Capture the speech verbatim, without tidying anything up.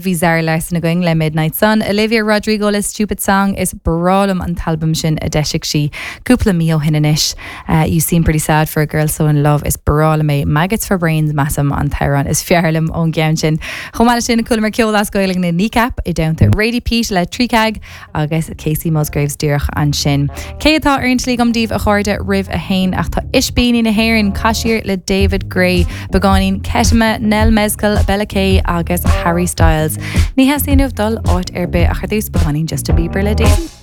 Bhí Zara Larsson againn le Midnight Sun, Olivia Rodrigo le Stupid Song is breá liom an t-albam sin a d'eisigh sí cúpla mí ó shin anois. Uh, you seem pretty sad for a girl so in love is breá liom é Maggots for Brains measaim an t-amhrán is fearr liom ón gceann sin. Chomh maith sin chualamar ceol as Gaeilge na Kneecap i dteannta Radie Peat le Trícag agus Kacey Musgraves díreach ansin. Cé atá ar an tslí agam daoibh a chairde roimh a haon ach tá Ispíní na hÉireann Caiseal le David Gray, beagáinín Ketama, Nell Mezcal, Bella Kay agus Harry Styles. Ní theastaíonn dul áit ar bith ach ar dtús beagáinín Justin Bieber le Daisy.